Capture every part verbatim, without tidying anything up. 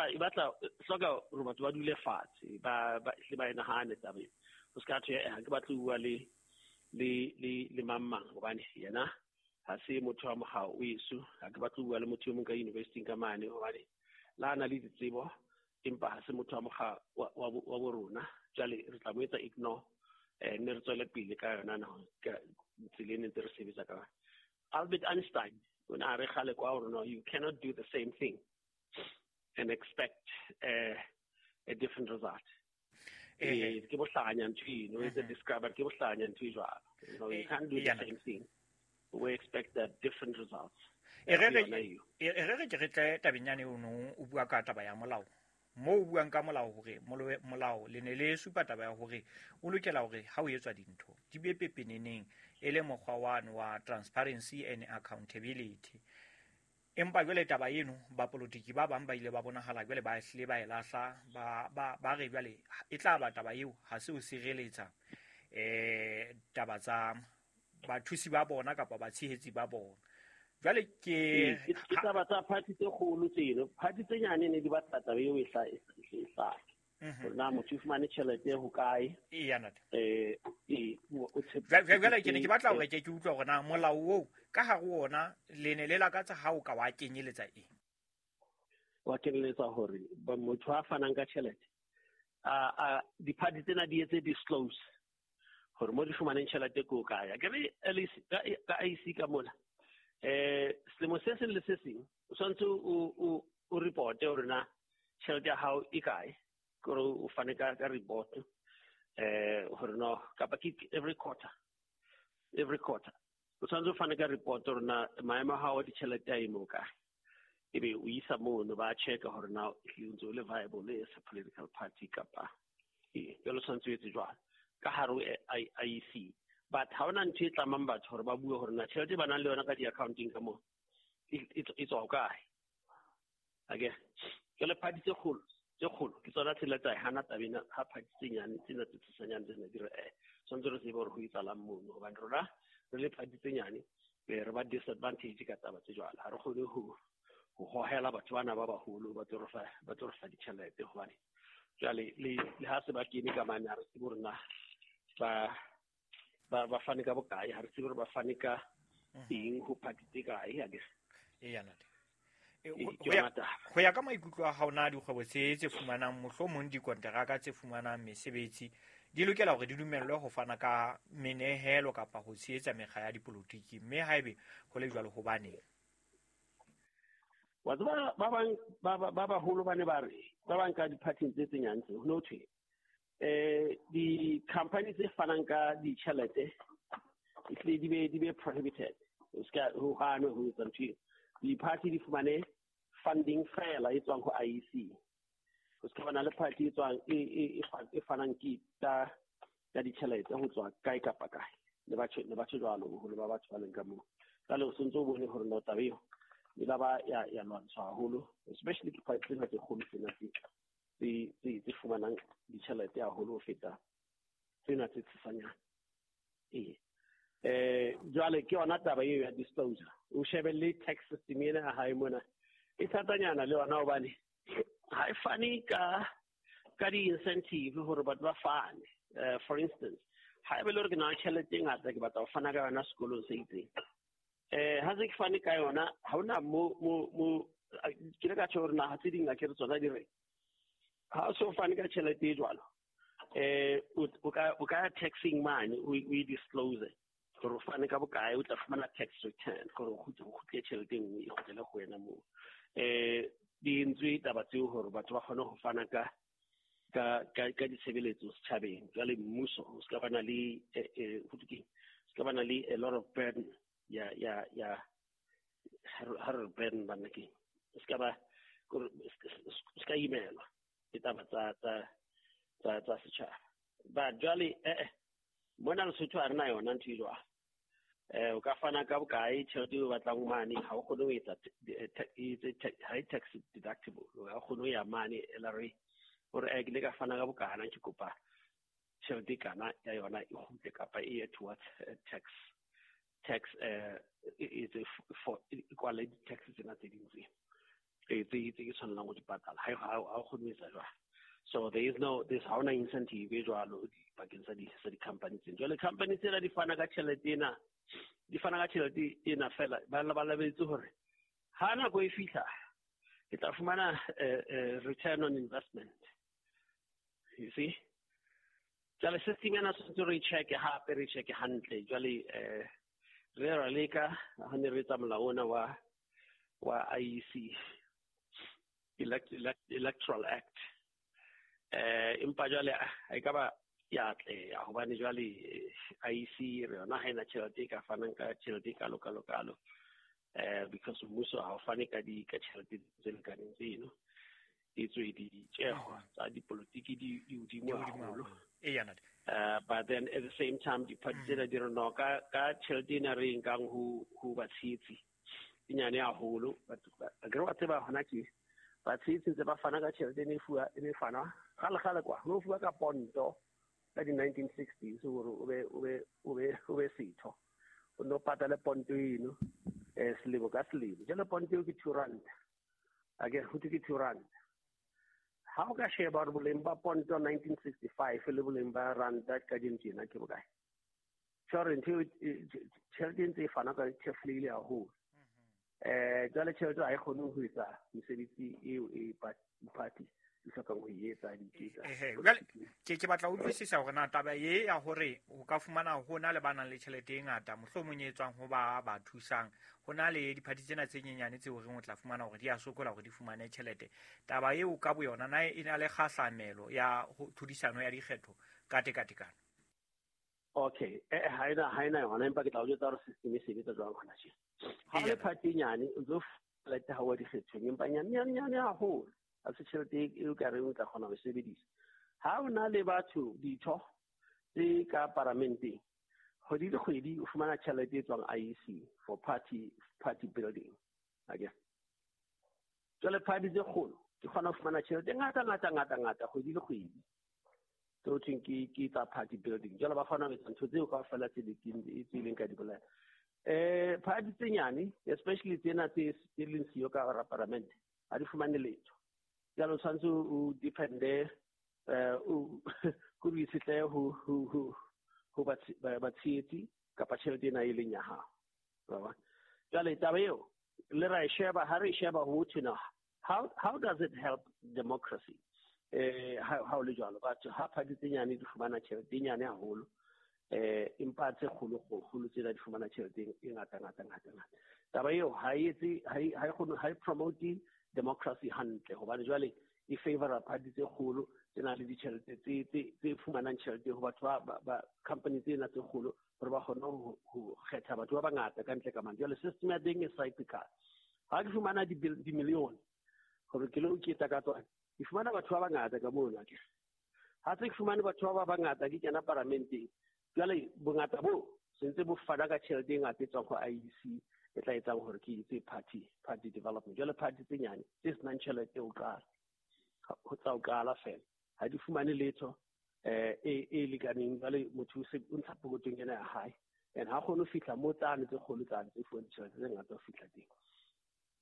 Empa e batla hloka hore batho ba dule fatshe, ba ba hle ba e nahane taba ena. Ho ska thwe ha ke batle ho bua le le le le mang mang hobane yena ha se motho wa mokga o eso, ha ke batle ho bua le motho e mong ka university ka mane hobane la na le ditsebo empa ha se motho wa mokga wa wa bo rona. Jwale re tla mo etsa ignore, eh ne re tswele pele ka yona na ka tsela e ne ntse re sebetsa ka yona. Albert Einstein o ne a re kgale kwa hore no, you cannot do the same thing and expect uh, a different result. Eh, ke bohlanya ntho eno, e describe ke bohlanya ntho e jwalo. You know, you can't do the same thing. We expect that different results. E re re e re ke re tle tabeng yane o no o bua ka taba ya molao. Mo o buang ka molao hore molao le ne le supa taba ya hore o lokela hore ha o etswa dintho di be pepeneneng e le mokgwa wa wa transparency and accountability. Empa jwale taba eno bapolotiki ba bang ba ile ba bonahala jwale ba hlile ba e lahla, ba ba ba re jwale e tla ba taba eo ha se o sireletsa eh taba tsa bathusi ba bona kapa batshehetsi ba bona. Jwale ke ke taba tsa party tse kgolo tseno, party tse nyane ne di batla taba eo e hla e hlake. Hore na motho o fumane tjhelete ho kae? Eya ntate. Eh e o jwale ke ne ke batla hore ke ke utlwe hore na molao oo ka hare ona le ne le lakatsa ha o ka wa kenyeletsa eng? Wa kenyeletsa hore motho a fanang ka tjhelete a a di-party tsena di etse disclose hore mo di fumaneng tjhelete ko kae. Ke re ka I C ka mola eh selemo se seng le se seng o tshwanetse o o reporte hore na tjhelete ya hao e kae, kore o fane ka ka report eh hore no kapa ke every quarter every quarter o tshwanetse o fane ka report hore na maemo a hao a ditjhelete a eme o kae, ebe o isa mono ba checka hore na o ntse o le viable as a political party kapa e jwale o tshwanetse o etse jwalo ka hare ho I E C. But ha hona ntho e tlamang batho hore ba bue hore na tjhelete ba nang le yona ka di-accounting ka moo e tswa ho kae. Ake jwale party tse kgolo tse kgolo ke tsona tsela tsa hana taba ena, ha party tse nyane tsena tse tshosanyane tsena di re eh tshwanetse re tsebe hore ho etsahalang mono, hobane rona re le party tse nyane re ba disadvantage ka taba tse jwalo. Ha re kgone ho ho hohela batho bana ba baholo ba tlo re fa ba tlo re fa ditjhelete, hobane jwale le le ha se ba kene ka mane ha re tsebe hore na ba ba ba fane ka bokae, ha re tsebe hore ba fane ka eng ho party tse kae. Akere eya ntate. Ho ya ka maikutlo a hao na dikgwebo tse tse fumanang mohlomong dikonteraka tse fumanang mesebetsi di lokela hore di dumellwe ho fana ka menehelo kapa ho tshehetsa mekga ya dipolotiki, mme haebe ho le jwalo hobaneng? Wa tseba ba bang ba ba baholo ba ne ba re ba bang ka di-party tse tse nyane tse ho no thwe eh di-company tse fanang ka ditjhelete ehlile di be di be prohibited, o ska ho hanwe ho etsa ntho eo. Di-party di fumane funding fela e tswang ho I E C, ho ska bana le party e tswang e e e fanang ke ta ka ditjhelete ho tswa kae kapa kae. Le batho le batho jwalo boholo ba batho ba leng ka moo. Jwale o sontso o bone hore no taba eo e la ba ya ya lwantshwa haholo, especially ke party tsena tse kgolo tsena tse tse tse fumanang ditjhelete haholo ho feta tsena tse tshesanyane. Ee eh jwale ke yona taba eo ya disclosure. O shebe le tax system ena ya hae mona e thatanyana le yona hobane ha e fane ka ka di-incentive hore batho ba fane. Uh, for instance, ha ebe le hore ke na le tjhelete e ngata ke batla ho fana ka yona sekolong se itseng, eh ha se ke fane ka yona ha hona mo mo mo ke le ka tjho hore naha tse ding a ke re tsona di re ha o so fane ka tjhelete e jwalo eh o ka o ka taxing mane o e disclose hore o fane ka bokae, o tla fumana tax return hore o kgutle tjhelete e nngwe e kgutlele ho wena moo. Eh di entswe taba tseo hore batho ba kgone ho fana ka ka ka ka ditshebeletso setjhabeng. Jwale mmuso o ska bana le eh ho thwe keng, o ska bana le a lot of burden ya ya ya ha re burden bana ke o ska ba o ska imelwa ke taba tsa tsa tsa tsa setjhaba. Ba jwale eh mona Lesotho ha re na yona ntho e jwalo. Eh o ka fana ka bokae tjhelete eo o batlang mane, ha o kgone ho etsa ha e tax deductible, ha o kgone ho ya mane L R A hore eh ke ile ka fana ka bokana ke kopa tjhelete kana ya yona e kgutle kapa e ye towards tax tax eh e for equality tax tsena tse ding tse. tse tse ke tshwanelang go di patala. Ha ha o kgone ho etsa jwalo. So there is no this ha hona incentive e jwalo bakeng sa di sa di-company tsena. Jwale company tsena di fana ka tjhelete ena, di fana ka tjhelete ena fela ba ba lebetse hore ha nako e fihla ke tla fumana return on investment. You see? Jwale system ena tshwanetse re check hape, re check hantle. Jwale eh re ra leka ha ne re etsa molao ona wa wa I E C, Elect, Elect, Electoral Act. Eh empa jwale ha e ka ba ya atleha hobane jwale I E C re yona ha ena tjhelete e ka fanang ka tjhelete e kalo kalo kalo. Eh because mmuso ha o fane ka di ka tjhelete tse lekaneng tseno. E tswe ditjeho tsa dipolotiki di di hodimo haholo. Uh, but then at the same time diphathi tsena di re no ka ka tjhelete ena re e nkang ho ho batshehetsi e nyane haholo. Akere wa tseba hona ke batshehetsi ntse ba fana ka tjhelete e ne fuwa e ne fanwa kgale kgale kwa ho fuwa ka ponto ka di nineteen sixties hore o be o be o be o be setho o no patale ponto eno eh selemo ka selemo. Jwale ponto eo ke two rand, akere ho thwe ke two rand. Ha o ka sheba hore boleng ba ponto nineteen sixty-five le boleng ba ranta kajeno tjena ke bokae? Tjhore ntho eo tjhelete e ntse e fana ka thefulehile haholo. Eh jwale tjhelete ha e kgone ho etsa mesebetsi eo e party di hlokang ho e etsa di etsa. Jwale ke ke batla ho utlwisisa hore na taba e ya hore o ka fumana ho na le ba nang le tjhelete e ngata mohlomong e tswang ho ba ba thusang, ho na le diphathi tsena tse nyenyane tseo reng o tla fumana hore di a sokola hore di fumane tjhelete. Taba eo ka boyona na e na le kgahlamelo ya tlhodisano ya dikgetho ka tekatekano? Okay, eh ha ena ha ena yona, empa ke tla o jwetsa hore system e sebetsa jwang hona tje. Ha le party e nyane o tlo tjhelete ha wa dikgethong, empa nyane nyane nyane haholo. Ha se tjhelete eo ka reng o tla kgona ho e sebedisa. Ha o na le batho ditho tse ka paramenteng, kgwedi le kgwedi o fumana tjhelete e tswang I E C for party party building. Akere jwale party tse kgolo di kgona ho fumana tjhelete e ngata ngata ngata ngata kgwedi le kgwedi. Tseo thweng ke ke tsa party building. Jwale ba kgona ho etsa ntho tseo kaofela tse tse leng ka di bolela. Eh party tse nyane especially tsena tse tse leng siyo ka hara paramente ha di fumane letho. Jwale o tshwanetse o depende eh o ko o itshetlehe ho ho ho ho batshehetsi kapa tjhelete ena e leng ya hao. Wa bona? Jwale taba eo le ra e sheba, ha re e sheba ho thwe na how how does it help democracy? Eh ha ha o le jwalo batho ha party tse nyane di fumana tjhelete e nyane haholo eh empa tse kgolo kgolo tsena di fumana tjhelete e ngata ngata ngata ngata. Taba eo ha e etse ha e ha e kgone ha e promote democracy hantle hobane jwale e favora party tse kgolo tse nang le ditjhelete tse tse tse fumanang tjhelete ho batho ba ba company tsena tse kgolo hore ba kgone ho ho kgetha batho ba bangata ka ntle ka mane. Jwale system ya teng e cyclical. Ha ke fumana di di million hore ke lo ketsa ka tsona, ke fumana batho ba bangata ka mono akere. Ha se ke fumane batho ba bangata ke kena paramenteng, jwale bongata bo sentse bo fana ka tjhelete e ngata e tswang ho I E C e tla etsang hore ke etse party party development. Jwale party tse nyane tse senang tjhelete ho qala ho tsa ho qala fela ha di fumane letho eh e e lekaneng. Jwale motho o se o ntsha pokotong ena ya hae and ha kgone ho fihla mo tsane tse kgolo tsane tse fuwang ditjhelete tse ngata ho fihla teng.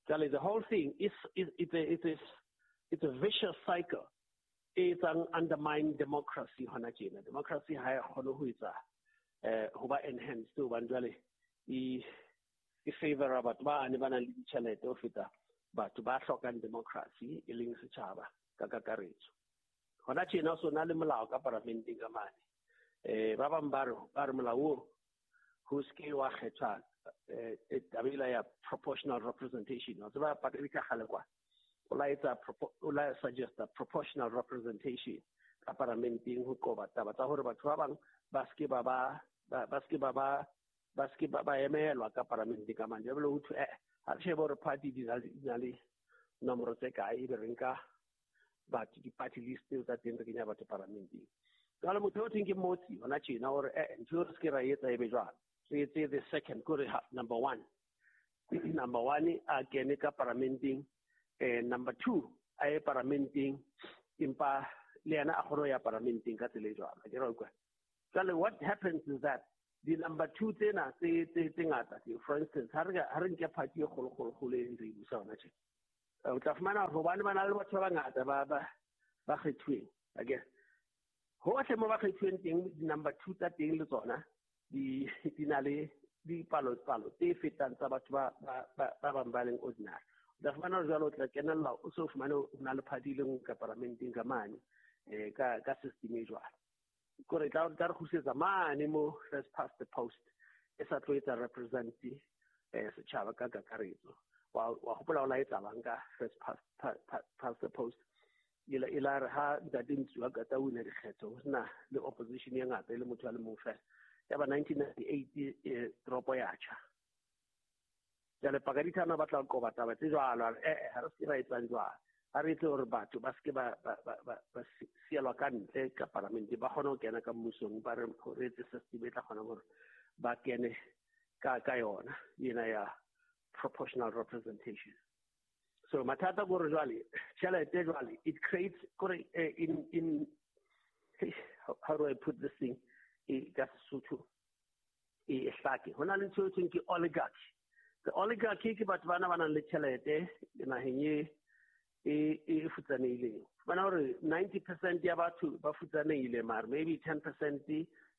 Jwale the whole thing is is it's a it's a it's a vicious cycle e etsang undermine democracy hona tjena. Democracy ha e kgone ho etsa eh ho ba enhanced hobane jwale e e favora batho ba ne ba nang le ditjhelete ho feta batho ba hlokang democracy e leng setjhaba ka kakaretso. Hona tjena so na le molao ka paramenteng ka mane. Eh ba bang ba re ba re molao oo ho se wa kgethwa eh taba ela ya proportional representation. Wa tseba pakeng ka kgale kwa o la etsa o la suggesta proportional representation ka paramenteng ho qoba taba tsa hore batho ba bang ba se ke ba ba ba se ke ba ba ba se ke ba ba emelwa ka paramenteng ka mane. Jwale ho thwe eh ha re shebe hore party di na le nomoro tse kae ebe re nka batho di-party list tseo tsa teng re kenya batho paramenteng. Jwale motho o thweng ke Motsi hona tjena hore eh ntho eo re se ke ra etsa ebe jwalo. Re etse the second kore number one. Number one a kene ka paramenteng, eh number two a ye paramenteng empa le yena a kgone ho ya paramenteng ka tsela e jwalo. Ke ra utlwa. Jwale what happens is that the number two tsena tse tse tse ngata, for instance ha re ha re nke party e kgolo kgolo kgolo e re busa hona tje. O tla fumana hore hobane ba na le batho ba bangata ba ba ba kgethuweng, akere hohle mo ba kgethuweng teng di-number two tsa teng le tsona di di na le dipalo palo tse fetang tsa batho ba ba ba bang ba leng ordinary. O tla fumana hore jwale o tla kenella o so fumane o na le party e le nngwe ka paramenteng ka mane eh ka ka system e jwalo. Kore tla tla re kgutlisetsa mane mo first past the post e sa tlo etsa represent eh setjhaba ka kakaretso. Wa wa hopola o la etsalang ka first past past the post ila ila re ha ntate Ntsuwa ka ta wina dikgetho ho sena le opposition e ngata e le motho a le mong fela. Ya ba nineteen ninety-eight toropo ya tjha. Jwale Pakadithana ba tla qoba taba tse jwalo, eh eh ha re se ra etsang jwalo. Ha re etse hore batho ba seke ba ba ba ba sielwa ka ntle ka parlamente, ba kgone ho kena ka mmusong, ba re re etse system e tla kgona hore ba kene ka ka yona ena ya proportional representation. So mathata gore jwale tjhelete jwale it creates kore in in how do I put this thing e ka Sesotho e hlake hona le ntho e thweng ke oligarchy. The oligarchy ke batho bana ba nang le tjhelete naheng e e e futsanehileng. Bona hore ninety percent ya batho ba futsanehile, mare maybe ten percent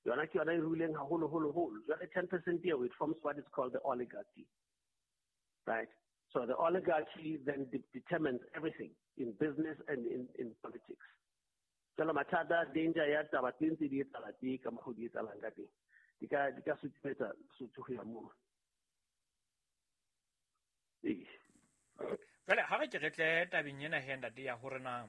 yona ke yona e ruileng haholo holo holo. Jwale ten percent eo it forms what is called the oligarchy, right? So the oligarchy then de- determines everything in business and in, in politics. Jwale mathata danger ya taba tse ntse di etsahala teng ka mokgwa di etsahalang ka teng di ka di ka sutumetsa Sotho ho ya moo. Ee. Jwale ha re ke re tle tabeng ena he ntate ya hore na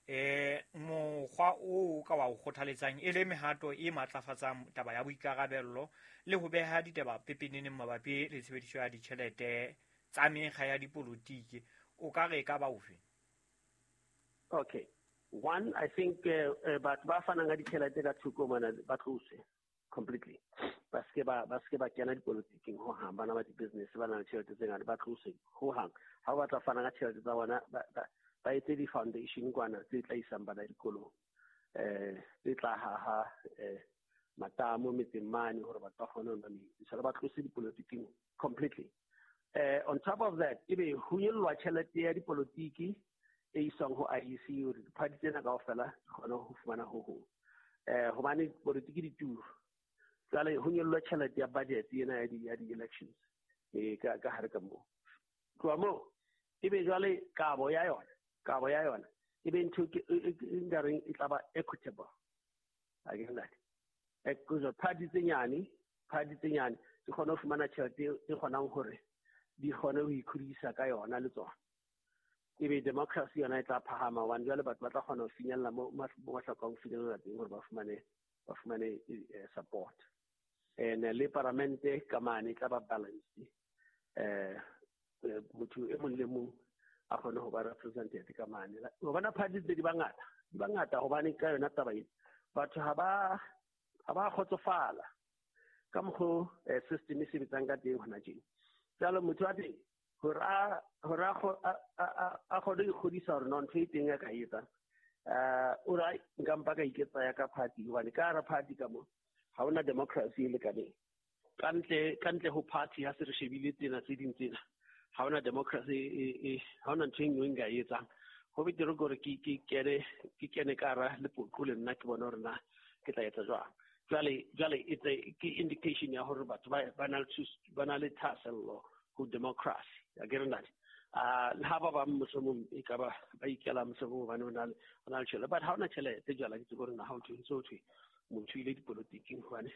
eh mokgwa o ka wa o kgothaletsang e le mehato e matlafatsang taba ya boikarabello le ho beha ditaba pepeneneng mabapi le tshebediso ya ditjhelete tsa mekga ya dipolotiki, o ka re ka ba ofe? Okay. One, I think uh, batho ba fanang ka ditjhelete ka thoko mona ba tlose completely. Ba seke ba ba seke ba kena dipolotiking ho hang, bana ba di-business ba na le tjhelete tse ngata ba tlose ho hang. Ha o batla fana ka tjhelete tsa bona ba ba etse di-foundation kwana tse tla isang bana dikolong, eh tse tla haha eh matamo metseng mane hore batho ba kgone ho nwa metsi. So ba tlose dipolotiking completely. Eh on top of that, ebe ho nyollwa tjhelete ya dipolotiki e iswang ho I E C hore diphathi tsena kaofela di kgone ho fumana ho hong. Eh hobane politiki di turu. Jwale ho nyollwa tjhelete ya budget ena ya di ya di-elections eh ka ka hare ka moo. Tloha moo ebe jwale kabo ya yona, kabo ya yona ebe ntho e nkareng e tla ba equitable. Akere ntate? Eh party tse nyane, party tse nyane di kgone ho fumana tjhelete e kgonang hore di kgone ho ikhodisa ka yona le tsona. Ebe democracy yona e tla phahama hobane jwale batho ba tla kgona ho finyella mo ba hlokang ho finyella teng hore ba fumane ba fumane support. And le paramente ka mane e tla ba balanced. Eh motho e mong le mong a kgone ho ba represented ka mane. Hobane parties di bangata, di bangata hobane ka yona taba ena batho ha ba ha ba kgotsofala ka mokgo system e sebetsang ka teng hona tjena. Jwale motho wa teng hore a hore a a kgone ho ikgodisa hore no ntho e teng ya ka etsang, eh o ra nka mpa ka iketsa ya ka party hobane ka hara party ka mo ha hona democracy e lekaneng. Ka ntle ka ntle ho party ha se re shebile tsena tse ding tsena ha hona democracy e ha hona ntho e nngwe nka e etsang. Ho betere hore ke ke kene ke kene ka hara lepoqo le nna ke bone hore na ke tla etsa jwang. Jwale jwale it's a ke indication ya hore batho ba ba na le ba na le thahasello ho democracy. Akere ntate? Ah le ha ba bang mohlomong e ka ba ba ikela mohlomong hobane o na le o na le tjhelete, but ha ona tjhelete jwale ke tsebe hore na ha o thwe so thwe motho ile dipolotiking hobane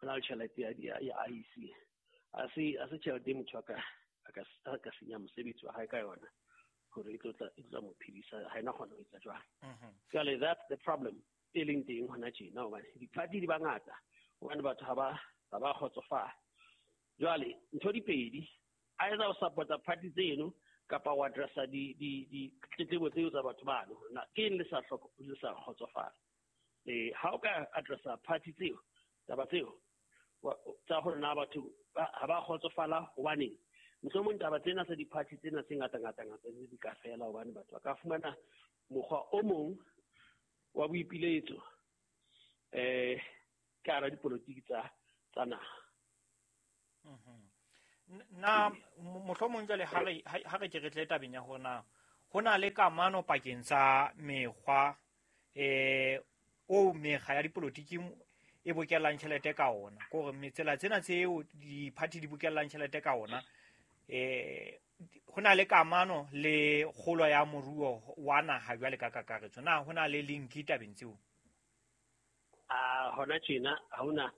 o na le tjhelete ya ya I E C. A se a se tjhelete motho a ka a ka a ka senya mosebetsi wa hae ka yona hore e tlo tla e tla mo phedisa, ha ena kgona ho etsa jwang. Jwale that's the problem e leng teng hona tjena hobane di-party di bangata hobane batho ha ba ha ba kgotsofala. Jwale ntho di pedi, either o support-a party tseno kapa wa addressa di di di tletlebo tseo tsa batho bano. Na ke eng le sa hloko le sa kgotsofala? Eh ha o ka addressa party tseo taba tseo tsa hore na batho ha ba kgotsofala hobaneng, mohlomong taba tsena tsa di-party tsena tse ngata ngata ngata di ka fela hobane batho ba ka fumana mokgwa o mong wa boipiletso eh ka hara dipolotiki tsa tsa naha. Mhm. Na mohlomong jwale ha re ha re ke re tle tabeng ya hore na ho na le kamano pakeng tsa mekgwa eh o mekga ya dipolotiki e bokellang tjhelete ka ona, ke hore metsela tsena tseo di-party di bokellang tjhelete ka ona eh ho na le kamano le kgolo ya moruo wa naha jwale ka kakaretso. Na ho na le link tabeng tseo? A hona tjena ha hona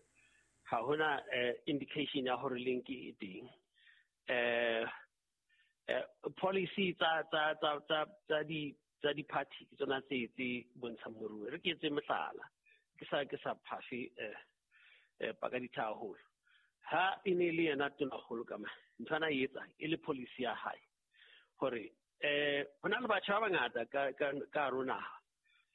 ha hona indication ya hore link e teng. Eh policy tsa tsa tsa tsa tsa di tsa di-party ke tsona tse tse bontshang moruo. Re ke etse mohlala, ke sa ke sa phafe eh eh paka ditha haholo. Ha e ne le yena tonakgolo ka mane, ntho ana e etsa e le policy ya hae hore eh ho na le batjha ba bangata ka ka ka hare ho naha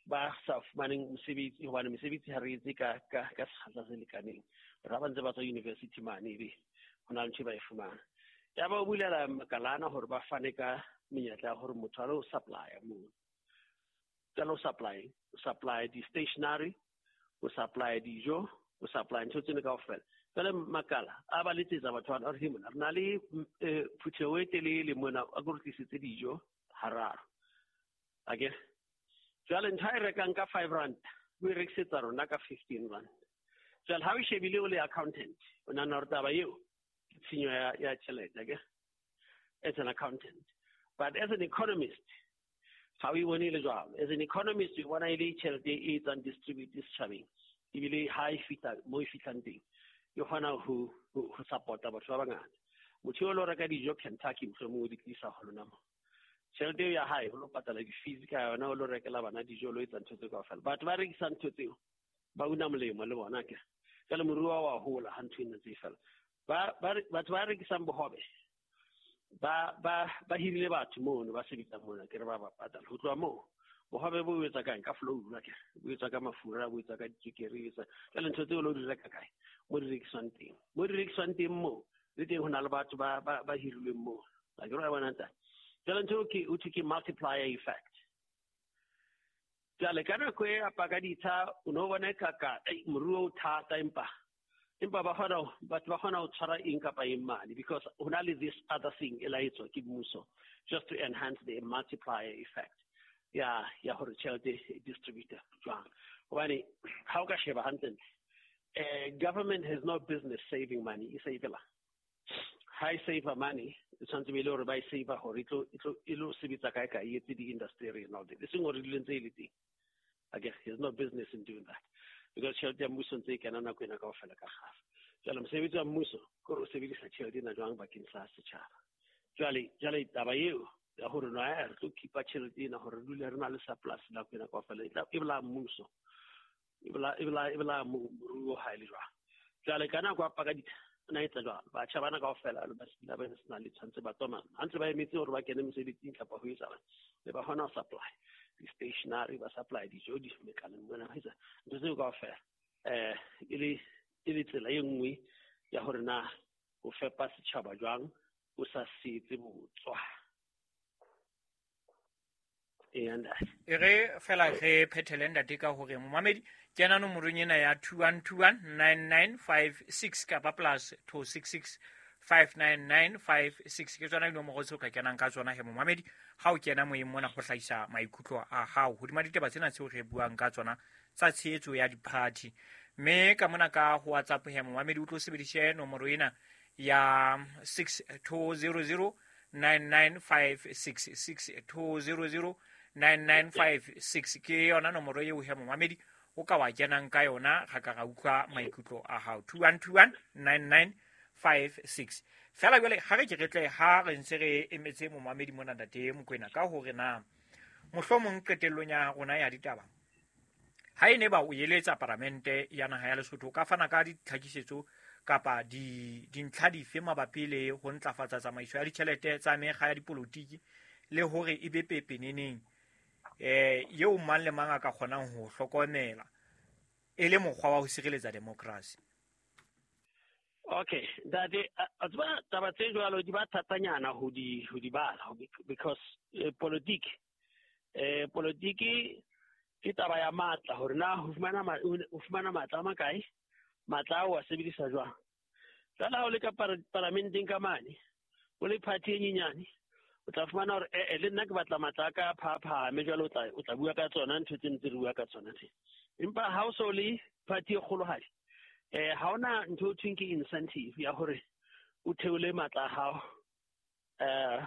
ba sa fumaneng mosebetsi, hobane mesebetsi ha re etse ka ka ka sekgahla se lekaneng. Hore ha ba ntse ba tswa university mane ebe ho na le ntho e ba e fumana. Ya ba o bulela makalana hore ba fane ka menyetla ya hore motho a lo supply moo. Ka lo supply, o supply di-stationery, o supply dijo, o supply ntho tsena kaofela. Jwale makala a ba letsetsa batho bana, a re, mona re na le phutheho e telele mona, a ko re tlisetse dijo hararo. Akere jwale ntho a e rekang ka five rand o e rekisetsa rona ka fifteen rand. Jwale ha o shebile o le accountant, o nahana hore taba eo ke tshenyo ya ya tjhelete, akere, as an accountant. But as an economist, ha o e bone e le jwalo. As an economist, o bona e le tjhelete e etsang distribute setjhabeng, ebile ha e fihla mo e fihlang teng, e kgona ho ho support-a batho ba bangata. Motho eo lo reka dijo Kentucky mohlomong o di tlisa ho lona mo. Tjhelete eo ya hae o lo patala di-fees ka yona, o lo rekela bana dijo, o lo etsa ntho tseo kaofela. Batho ba rekisang ntho tseo ba una molemo le bona ke. Jwale moruo wa hola ha ntho ena tse fela. Ba batho ba rekisang bohobe ba ba ba hirile batho mono ba sebetsang mona, ke re ba ba patala. Ho tloha moo bohobe bo etsa kae? Ka flour, ke bo etsa ka mafura, bo etsa ka ditswekere, etsa jwale ntho tseo lo di reka kae? Mo di rekiswang teng. Mo di rekiswang teng moo le teng ho na le batho ba ba ba hirilweng moo. A ke re wa bona ntate. Jwale ntho ke o thwe ke multiplier effect. Jwale ka nako e a paka ditsha, o no bona ka ka moruo o thata, empa empa ba kgona batho ba kgona ho tshwara eng kapa eng mane, because ho na le this other thing e la etswa ke mmuso just to enhance the multiplier effect ya ya hore tjhelete e distributor jwang. Hobane ha o ka sheba hantle, eh government has no business saving money, e save-ela. Ha e save money, e tshwanetse be le hore ba e save hore e tlo e tlo e lo sebetsa kae kae, e etse di-industry and all that. E seng hore di ntse e le teng. Again, there's no business in doing that, because tjhelete ya mmuso ntse e kena nako ena kaofela ka kgafa. Jwale mosebetsi wa mmuso ke hore o sebedisa tjhelete ena jwang bakeng sa setjhaba. Jwale jwale taba eo ya hore no re tlo keep-a tjhelete ena hore re dule re na le surplus nako ena kaofela, e tla e bolaya mmuso, e bolaya e bolaya e bolaya moruo ha e le jwang. Jwale ka nako ya paka ditha o na etsa jwalo, batjha bana kaofela ba se ba sena le tshwanetse ba tswa mane, ha ntse ba emetse hore ba kene mesebetsing kapa ho etsahalang, le ba kgona ho supply di-stationery, ba supply dijo di mekaleng mona, ba etsa ntho tseo kaofela. Eh e le e le tsela e nngwe ya hore na o fepa setjhaba jwang o sa setse botswa. E re fela re phethele ntate ka hore momamedi kena nomorong ena ya two one two one nine nine five six kapa plus two six six five nine nine five six, ke tsona dinomoro tseo ka kenang ka tsona he momamedi ha o kena moyeng mona go hlahisa maikutlo a hao hodima ditaba tsena tseo re buang ka tsona tsa tshehetso ya di-party. Mme ka mona ka ho WhatsApp he momamedi o tlo sebedise nomoro ena ya six two zero zero nine nine five six, six two zero zero nine nine five six ke yona nomoro eo he momamedi o ka wa kenang ka yona ga ka ga utlwa maikutlo a hao. Two one two one nine nine five six. Fela jwale ha re ke re tle ha re ntse re emetse momamedi mona ntate Mokoena ka hore na mohlomong qetellong ya rona ya ditaba ha e ne ba o eletsa paramente ya naha ya Lesotho ka fana ka ditlhakisetso kapa di dintlha dife mabapi le ho ntlafatsa tsamaiso ya ditjhelete tsa mekga ya dipolotiki le hore e be pepeneneng eh eo mang le mang a ka kgonang ho hlokomela e le mokgwa wa ho sireletsa demokrasi. Okay, ntate, a tseba taba tse jwalo di ba thatanyana ho di ho di bala because eh, politiki eh politiki ke taba ya matla, hore na ho fumana ho fumana matla a makae, matla ao a sebedisa jwang. Jwale ha o le ka paramenteng ka mane, o le party e nyenyane, o tla fumana hore eh le nna ke batla matla a ka a phaphame, jwale o tla o tla bua ka tsona ntho tse ntse re bua ka tsona tse. Empa ha o so le party e kgolohadi, eh ha hona ntho e thweng ke incentive ya hore o theole matla a hao eh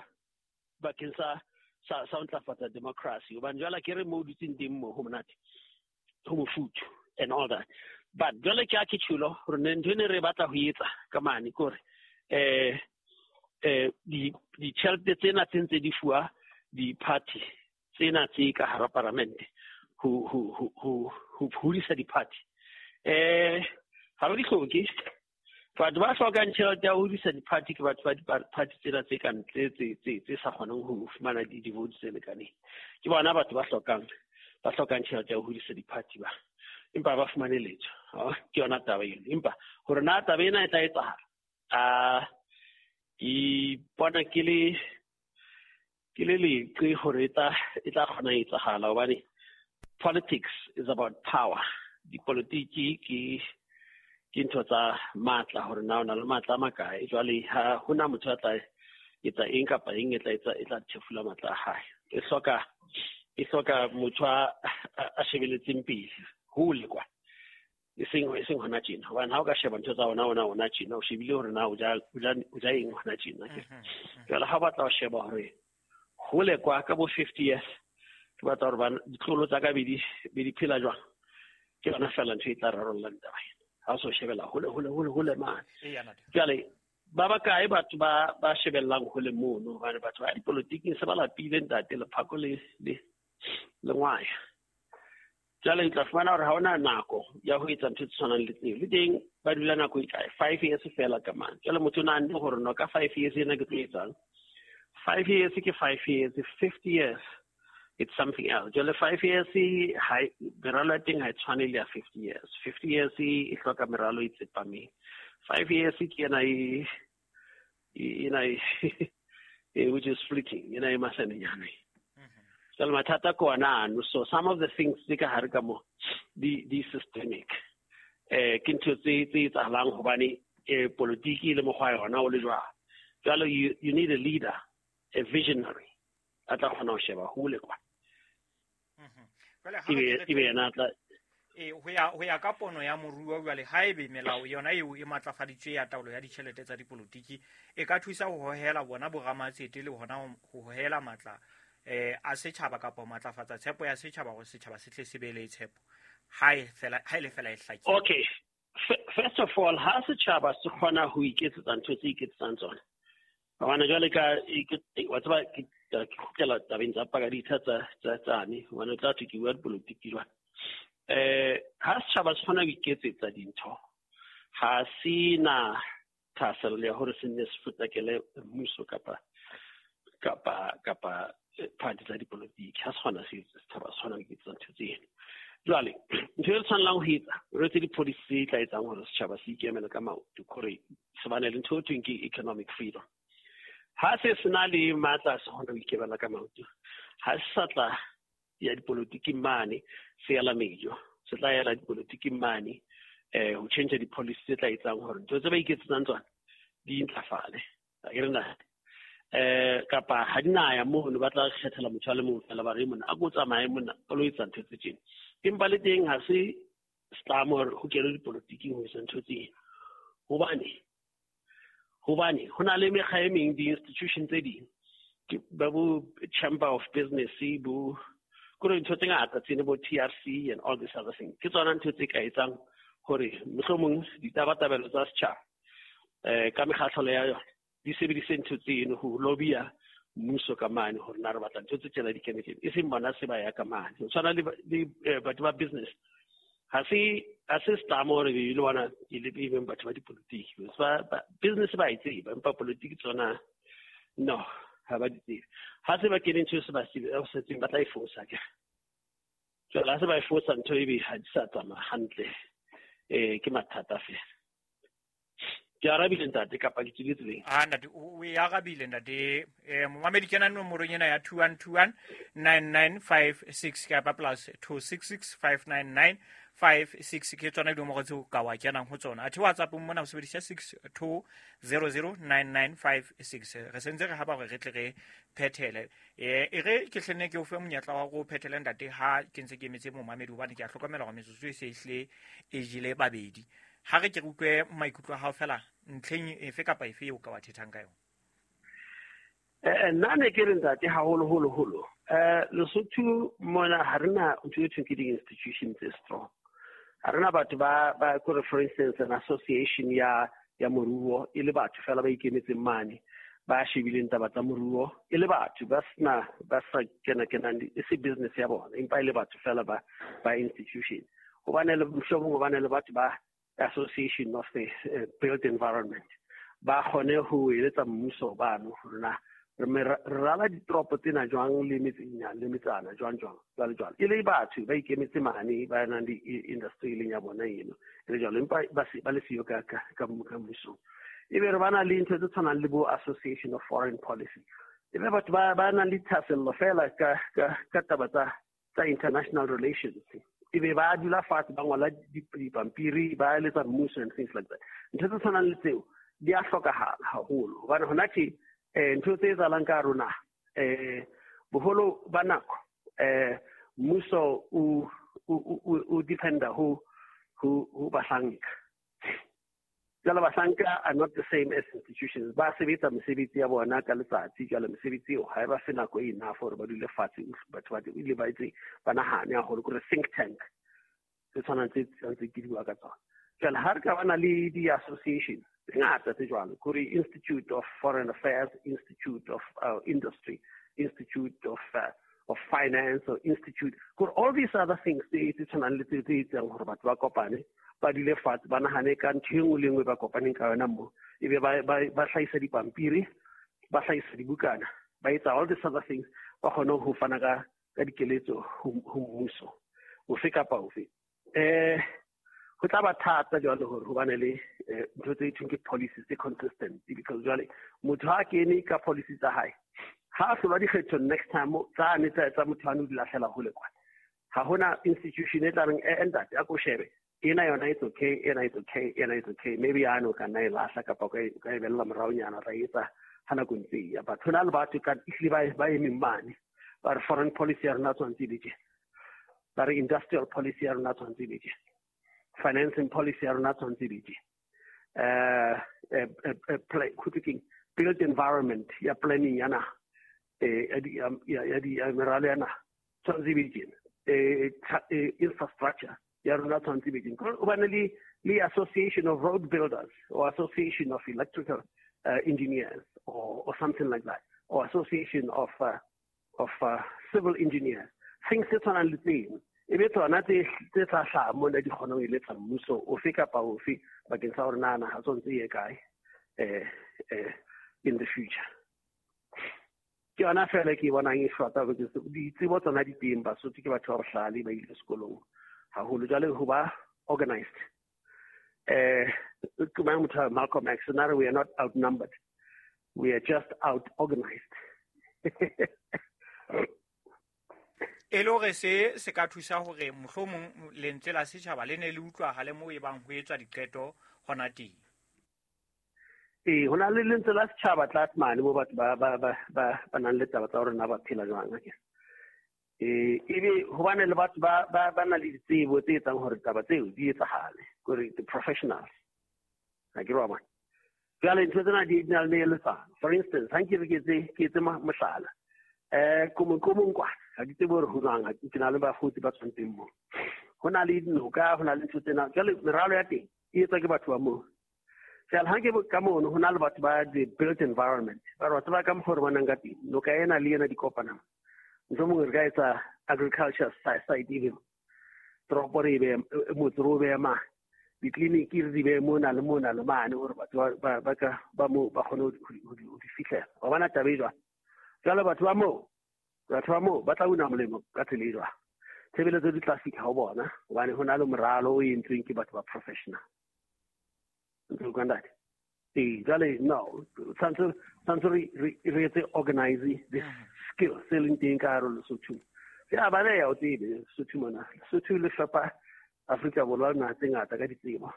bakeng sa sa sa ntlafatsa democracy. Hobane jwale ke re mo dutseng teng mo ho monate, ho mofuthu and all that. But jwale ke a ke tjhulo hore ne ntho e ne re batla ho etsa ka mane ke hore eh eh di ditjhelete tsena tse ntse di fuwa di-party tsena tse ka hara paramente ho ho ho ho ho hodisa di-party. Eh ha re di hloke. Batho ba hlokang tjhelete ya ho hodisa di-party ke batho ba di-party tsena tse ka ntle tse tse tse sa kgoneng ho fumana di-votes tse lekaneng. Ke bona batho ba hlokang ba hlokang tjhelete ya ho hodisa di-party ba. Empa ba fumane letho. Ke yona taba eno. Empa hore na taba ena e tla etsahala, a ke bona ke le ke le leqe hore e tla e tla kgona ho etsahala, hobane politics is about power. Dipolotiki ke ke ntho tsa matla, hore na o na le matla a makae. Jwale ha hona motho a tla etsa eng kapa eng e tla etsa e tla thefula matla a hae. E hloka e hloka motho a a shebeletseng pele hole kwa, e seng e seng hona tjena. Hobane ha o ka sheba ntho tsa ona ona ona tjena, o shebile hore na o ja o ja o ja eng hona tjena. Jwale ha o batla ho sheba hore hole kwa ka bo fifty years, ke batla hore bana ditlolo tsa ka be di be di phela jwang, ke yona fela ntho e tla rarollang taba ena. Ha o so shebela hole hole hole hole mane. Jwale ba bakae batho ba ba shebellang hole mono, hobane batho ba dipolotiking se ba lapile ntate lephako le le le ngwaya. Jwale o tla fumana hore ha hona nako ya ho etsa ntho tse tshwanang le tseo. Le teng ba dula nako e kae? Five years fela ka mane. Jwale motho o nahanne hore no ka five years ena ke tlo etsang. Five years ke five years, fifty years it's something else. Jwale five years ha meralo ya teng ha e tshwane le ya fifty years. Fifty years e hloka meralo e tsepameng. Five years ke ena e ena e which is fleeting, ena e masanenyane. Jwale mathata ke ona ano. So some of the things tse ka hare ka mo di di systemic. Eh ke ntho tse tse etsahalang hobane eh politiki le mokgwa yona o le jwalo. Jwale you you need a leader, a visionary a tla kgona ho sheba hole kwa. Ebe ebe yena tla e ho ya ho ya ka pono ya moruo. Jwale haebe melao yona eo e matlafaditswe ya taolo ya ditjhelete tsa dipolotiki e ka thusa ho hohela bona boramatsete le hona ho hohela matla eh a setjhaba kapa matlafatsa tshepo ya setjhaba hore setjhaba se tle se be le tshepo ha e fela ha ile fela e hlakile. Okay, first of all, ha setjhaba se kgona ho iketsetsa ntho tse iketsetsang tsona, hobane jwale ka wa tseba ke kgutlela tabeng tsa pakaditha tsa tsa tsane, hobane o tla thwe ke bua dipolotiki jwale. Eh ha setjhaba se kgona ho iketsetsa dintho, ha se na thahasello ya hore se nne se potlakele mmuso kapa kapa kapa party tsa dipolotiki. Ha se kgona se setjhaba se kgona ho iketsetsa ntho tseno. Jwale ntho e tshwanelang ho etsa, re etse di-policy tse tla etsang hore setjhaba se ikemele ka maoto, hore se bane le ntho e thweng ke economic freedom. Ha se sena le matla se kgona ho ikemela ka maoto, ha se sa tla ya dipolotiking mane se yala mejo, se tla yela dipolotiking mane eh ho change di-policy tse tla etsang hore ntho tse ba iketsetsang tsona di ntlafale. Ke re na eh kapa ha di na ya mono, ba tla kgethela motho a le mong fela, ba re mona a ko tsamaye mona o lo etsa ntho tse tjena. Empa le teng ha se setlamo hore ho kenwe dipolotiking ho etsa ntho tsena, hobane hobane ho na le mekga e meng, di-institution tse ding, ba bo Chamber of Business, bo kore ntho tse ngata tsene, bo T R C and all this other thing. Ke tsona ntho tse ka etsang hore mohlomong ditabatabelo tsa setjhaba eh ka mekgatlho ya yona di sebedise ntho tseno ho lobby-a mmuso ka mane hore na re batla ntho tse tjena di kene tjena, e seng bona se ba ya ka mane. Ho tshwana le le batho ba business, ha se ha se setlamo hore le bona e le even batho ba dipolotiki ba business ba e tseba, empa politiki tsona no ha ba di tsebe. Ha se ba kene ntho se ba se ba tla e fosa ke jwale, ha se ba e fosa ntho ebe ha di sa tsamaya hantle, eh ke mathata fela. Ke arabile ntate kapa ke tswile tseleng? Ah ntate, o e arabile ntate. Eh momamedi kena nomorong ena ya two one two one nine nine five six kapa plus two six six five nine nine five six ke tsona dinomoro tseo ka wa kenang ho tsona. Athe WhatsApp mona o sebedisa six two zero zero nine nine five six. Re sentse re haba hore re tle re phethele. E e re ke hlenne ke o fe monyetla wa go phethele ntate ha ke ntse ke emetse momamedi hobane ke a hlokomela hore metsotso e se ehle e jele babedi. Ha re ke re utlwe maikutlo a hao fela ntlheng efe kapa efe eo ka wa thethang ka yona. Eh nna ne ke re ntate haholo holo holo. Eh Lesotho mona ha rena ntho e thweng ke di-institutions tse strong. Ha rena batho ba ba kore for instance an association ya ya moruo e le batho fela ba ikemetseng mane ba shebileng taba tsa moruo e le batho ba sena ba sa kena kenang e se business ya bona empa e le batho fela ba ba institution. Hobane le mohlomong hobane le batho ba association of the uh, built environment ba kgone ho eletsa mmuso bano hore na re rala ditoropo tsena jwang le metseng le metsana jwang jwang jwale jwale e le batho ba ikemetse mane ba nang le industry leng ya bona eno e le jwalo empa ba se ba le siyo ka ka ka mmusong. E be re bana le ntho tse tshwanang le bo association of foreign policy e be batho ba ba nang le thahasello fela ka ka ka taba tsa tsa international relations e be ba dula fatshe ba ngola dipampiri ba eletsa mmuso and things like that. Ntho tse tshwanang le tseo di a hlokahala haholo hobane hona tje eh ntho tse etsahalang ka rona eh boholo ba nako eh mmuso o o dependa ho ho ho bahlanka. Jwale bahlanka are not the same as institutions. Ba sebetsa mesebetsi ya bona ka letsatsi jwale mesebetsi eo ha e ba fe nako e enough hore ba dule fatshe batho ba ile ba etse ba nahane haholo kore think tank tse tshwanang tse ntse ke di bua ka tsona. Jwale ha re ka bana le di-association tse ngata tse jwalo kore Institute of Foreign Affairs, Institute of uh, Industry, Institute of uh, of Finance or Institute kore all these other things tse tse tshwanang le tse tse etsang hore batho ba kopane ba dule fatshe ba nahane ka ntho e nngwe le nngwe ba kopaneng ka yona mo ebe ba ba hlahisa dipampiri ba hlahisa dibukana ba etsa all these other things ba kgone ho fana ka ka dikeletso ho mmuso ofe kapa ofe. Eh ho tla ba thata jwale hore hobane le ntho tse thweng ke policies tse consistent because jwale motho ha kene ka policy tsa hae ha a hlolwa dikgetho next time tsane tsa tsa motho a no di lahlela hole kwana. Ha hona institution e tla reng e ntate a ko shebe ena yona it's okay ena it's okay ena it's okay maybe a no ka nna e lahla kapa ka ka e bella moraonyana ra etsa ha nako ntse e ya. Batho na le batho ka ehlile ba ba emeng mane ba re foreign policy ya rona tshwanetse e be tje, ba re industrial policy ya rona tshwanetse e be tje, financing policy ya rona tshwanetse e be tje, eh eh built environment ya planning ya naha eh ya ya di meralo ya naha tshwanetse e be tje, eh infrastructure ya rona tshwanetse e be tje. Hobane le le association of road builders or association of electrical uh, engineers or or something like that or association of uh, of uh, civil engineers things tse tshwanang le tseno e be tsona tse tse tla hlaha mona di kgona ho eletsa mmuso ofe kapa ofe bakeng sa hore na naha tshwanetse e ye kae eh eh in the future. Ke yona fela ke bonang e shota because ditsebo tsona di teng Basotho ke batho ba bohlale ba ile sekolong haholo jwale ho ba organized. Eh ke mang motho Malcolm X na re we are not outnumbered, we are just out organized. E le hore se se ka thusa hore mohlomong lentswe la setjhaba le ne le utlwahale moo e bang ho etswa diqeto hona teng. Ee, ho na le lentswe la setjhaba tlase mane moo batho ba ba ba ba nang le taba tsa hore na ba phela jwang akere. Eh ebe hobane le batho ba ba ba na le ditsebo tse etsang hore taba tseo di etsahale kore the professionals ha ke re wa bona. Jwale ntho tsena di na le eletsana. For instance, ha nke re ke etse ke etse mohlala eh komong komong kwa ha ke tsebe hore ho jwang ha ke na le bakgotsi ba tshwantseng moo. Ho na le dinoka, ho na le ntho tsena jwale meralo ya teng e etswa ke batho ba moo. Jwale ha ke ka mono ho na le batho ba the built environment ba re batho ba ka mokgwa re bonang ka teng noka ena le ena di kopana mohlomong re ka etsa agriculture site even toropo re be motse re o behe mane ditleliniki re di behe mona le mona le mane hore batho ba ba ka ba moo ba kgone ho di fihlela. Wa bona taba e jwang? Jwale batho ba moo batho ba moo ba tla una molemo ka tsela e jwang? Tshebeletso di tla fihla ho bona hobane ho na le moralo o entsweng ke batho ba professional. Ntse o ntate? Ee, jwale no tshwanetse tshwanetse re re etse organize this skill se leng teng ka hare ho Lesotho. Se a baleha o tsebe Lesotho mona. Lesotho le fepa Afrika Borwa naha tse ngata ka ditsebo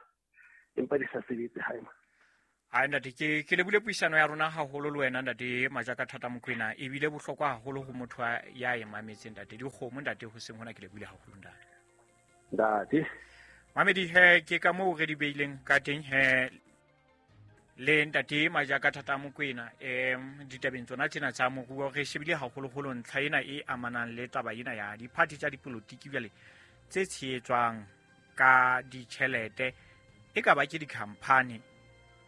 empa di sa sebetse hae. Hai ntate, ke ke lebule puisano ya rona haholo le wena ntate Majaka Thata Mokoena, ebile bohlokwa haholo ho motho ya e mametseng ntate. Dikgomo ntate ho seng hona ke lebule haholo ntate. Ntate. Mamedi he ke ka moo re di beileng ka teng he le ntate Majaka Thata Mokoena em ditabeng tsona tsena tsa moruo re shebile haholoholo ntlha ena e amanang le taba ena ya diphathi tsa dipolotiki jwale tse tshehetswang ka ditjhelete e ka ba ke di-company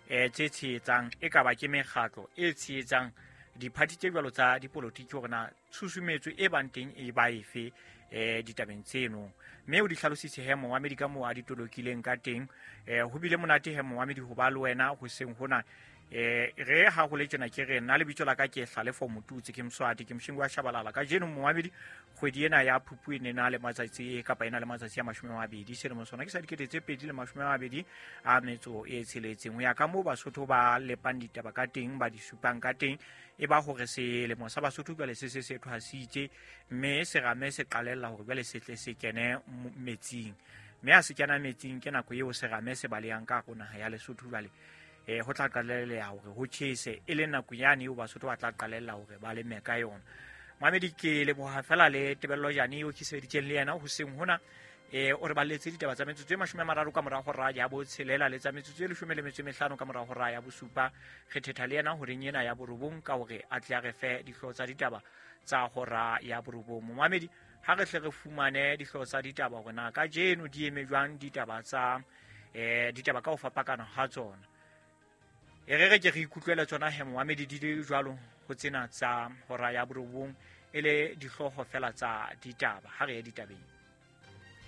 eh tse tshehetsang e ka ba ke mekgatlo e tshehetsang diphathi tse jwalo tsa dipolotiki hore na tshusumetso e bang teng e ba efe eh ditabeng tseno. Mme o di hlalositse he momamedi ka moo a di tolokileng ka teng. Eh ho bile monate he momamedi ho ba le wena hoseng hona. Eh re ha ho le tjena ke re nna lebitso la ka ke Hlalefo Motutsi, ke Mswati, ke Mshingu wa Shabalala. Kajeno momamedi kgwedi ena ya Phupu e ne na le matsatsi kapa ena le matsatsi a mashome a mabedi selemo sona ke sa dikete tse pedi le mashome a mabedi a metso e tsheletseng. Ho ya ka moo Basotho ba lepang ditaba ka teng, ba di supang ka teng, e ba hore selemo sa Basotho jwale se se se thwasitse mme serame se qalella hore jwale se tle se kene metsing. Mme ha se kena metsing ke nako eo serame se balehang ka hare naha ya Lesotho jwale eh ho tla qalella hore ho tjhese e le nako yane eo Basotho ba tla qalella hore ba leme ka yona. Mamedi ke leboha fela le Tebello Jane eo ke sebeditseng le yena hoseng hona. Eh o re balletse ditaba tsa metsotso e mashome a mararo ka mora hora ya botshelela le tsa metsotso e leshome le metso e mehlano ka mora hora ya bosupa. Re thetha le yena horeng ena ya borobong ka hore a tle a re fe dihlooho tsa ditaba tsa hora ya borobong. Mamedi ha re hle re fumane dihlooho tsa ditaba hore na kajeno di eme jwang ditaba tsa eh ditaba ka ho fapakana ha tsona. E re re ke re ikutlwele tsona he momamedi di le jwalo ho tsena tsa hora ya borobong e le dihlooho fela tsa ditaba. Ha re ye ditabeng.